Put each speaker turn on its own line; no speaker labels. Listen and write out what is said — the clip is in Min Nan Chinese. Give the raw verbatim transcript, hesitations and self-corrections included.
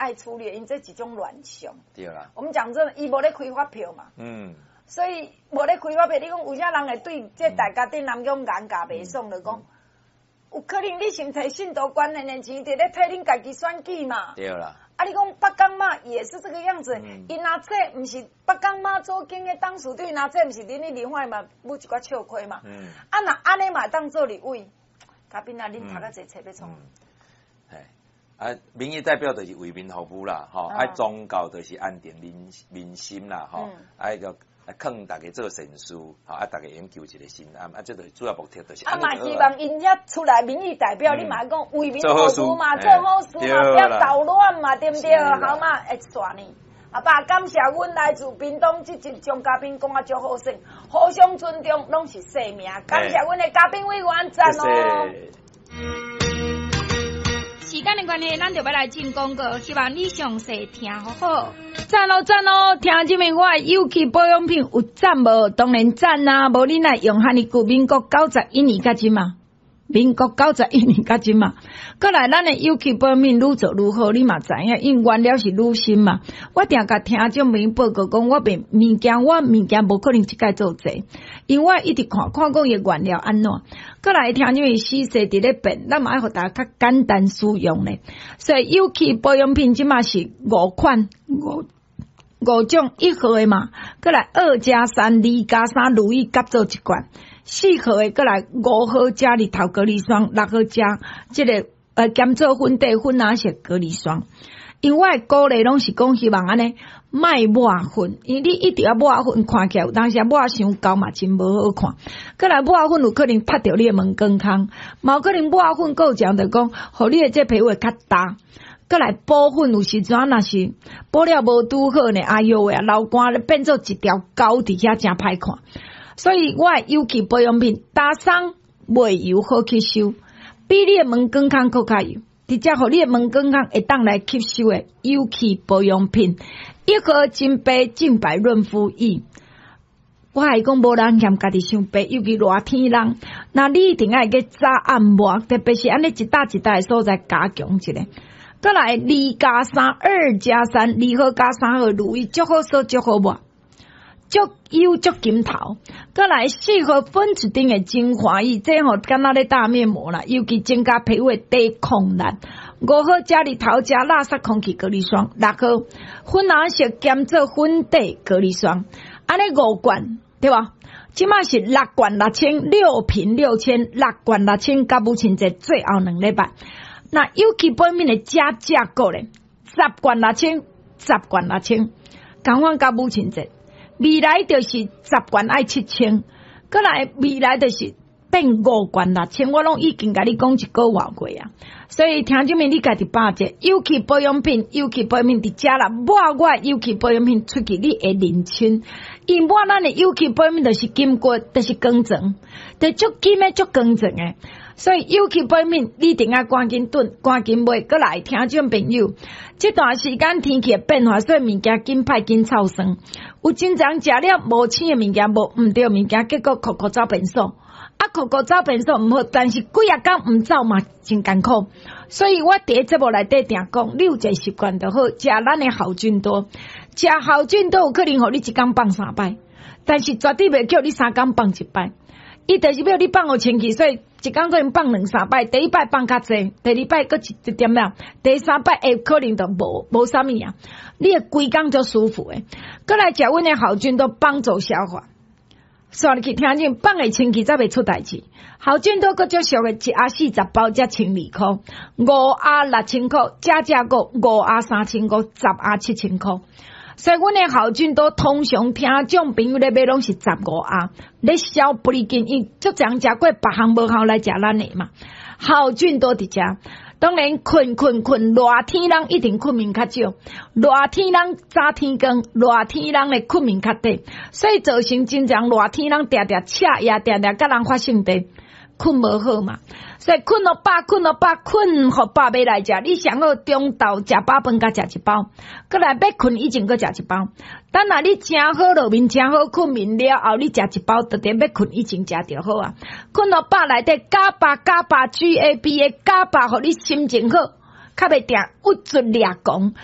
愛處理，因這一種亂象。
對啦。
我們講真的，伊無咧開發票嘛。
嗯。
所以無咧開發票，你講有啥人會對這大家頂人講眼界袂爽，就講有可能你是提信徒關係的錢，佇咧替恁家己選舉嘛？
對啦。
啊，你講北港媽也是這個樣子，𪜶阿這毋是北港媽祖宮的董事長，𪜶阿這毋是恁咧立法嘛，舞一寡笑虧嘛。
嗯。
啊，若按呢嘛當做立委，嘉賓啊，恁讀較濟冊欲創？
啊，民意代表就是為民服務啦，吼，啊，宗教就是安定民民心啦，吼，啊，個勸大家做善事，吼，啊，大家會求一個心安，啊，這就是主要目的，就是。
啊嘛，希望𪜶遐出來民意代表，你嘛講為民服務嘛，做好事嘛，不要搗亂嘛，對毋對？好嘛，會煞呢。阿爸，感謝阮來自屏東這集張嘉賓講啊足好耍，互相尊重，攏是生命。感謝阮的嘉賓委員，讚哦。
時間的關係，咱就欲來進廣告，希望你詳細聽好好。讚哦讚哦，聽這面我的有機保養品有讚無？當然讚啊！無你若用遐爾久，民國九十一年到這馬，民國九十一年到這馬，閣來咱的有機保養品愈做愈好，你嘛知影，因為原料是愈新嘛。我定共聽眾朋友報告講，我賣物件，我物件無可能一擺做濟，因為我一直看看講伊原料按怎。閣來聽因為時勢佇咧變，咱嘛愛予大家較簡單使用咧。所以有機保養品這馬是五款五五種一號的嘛，閣來二加三、二加三，乳液合做一罐；四號的閣來五號加日頭隔離霜，六號加這個呃兼做粉底粉藍色隔離霜。因為我的鼓勵攏是講希望按呢，莫抹粉，因為你一直啊抹粉，看起來有當時抹傷厚嘛，真無好看。閣來抹粉有可能拍著你的毛管孔，嘛有可能抹粉閣有講就講，予你的這皮膚會較焦。閣來補粉有時陣若是補了無拄好呢，哎喲喂，流汗咧變做一條溝佇遐，誠歹看。所以我的有機保養品，焦鬆袂油好吸收，比你的毛管孔閣較油。直接予你的毛管孔會當來吸收的有機保養品，一盒金杯淨白潤膚液。我還講無人嫌家己傷白，尤其熱天人，那你一定愛去早按抹，特別是按呢一搭一搭的所在加強一下。閣來二加三，二加三，二號加三號乳液，足好耍，足好抹，足油足金頭。閣來四號粉刺頂的精華液，這吼敢若咧打面膜啦，尤其增加皮膚的抵抗力。五號加日頭加垃圾空氣隔離霜，六號粉藍色兼做粉底隔離霜，按呢五罐對無？這馬是六罐六千，六瓶六千，六罐六千，佮母親節最後兩禮拜。那有機保養品的加價購咧，十罐六千，十罐六千，仝款佮母親節。未來就是十罐愛七千，閣來未來就是變五罐六千，我攏已經共你講一個外過啊。所以聽眾們，你家己把握有機保養品，有機保養品佇遮啦，抹我有機保養品出去，你會認清。因抹咱的有機保養品就是金骨，就是光澤，就足金的足光澤的。所以有機保養品，你一定愛趕緊囤，趕緊買。閣來聽眾朋友，這段時間天氣的變化，所以物件緊歹緊臭酸。有真濟人食了無鮮的物件，無毋對物件，結果箍箍走便所。啊，箍箍走便所毋好，但是幾仔工毋走嘛，真艱苦。所以我佇節目內底定講，你有一個習慣就好，食咱的好菌多，食好菌多有可能予你一工放三擺，但是絕對袂叫你三工放一擺。伊就是欲你放予清氣，所以一工可能放兩三擺，第一擺放較濟，第二擺閣一一點仔，第三擺會可能就無無啥物啊。你會規工足舒服的。閣來食阮的好菌多幫助消化。煞入去聽見放會清氣才袂出代誌。好菌多閣足俗的，一盒四十包才千二箍，五盒六千箍，加價過五盒三千箍，十盒七千箍。所以阮的好菌多通常聽眾朋友咧買攏是十五盒，咧消不離緊，因足濟人食過別項無效來食咱的嘛。好菌多佇遮，當然睏睏睏，熱天人一定睏眠較少，熱天人早天光，熱天人的睏眠較短，所以造成真濟人熱天人定定赤夜，定定佮人發性地，睏無好嘛。所以睏予飽，睏予飽，睏予飽欲來食。你上好中晝食飽飯，佮食一包，閣來欲睏以前閣食一包。等下你誠好落眠，誠好睏眠了後，你食一包，就佇欲睏以前食就好啊。睏予飽內底 GABA GABA G A B A GABA，予你心情好，較袂定鬱卒掠狂。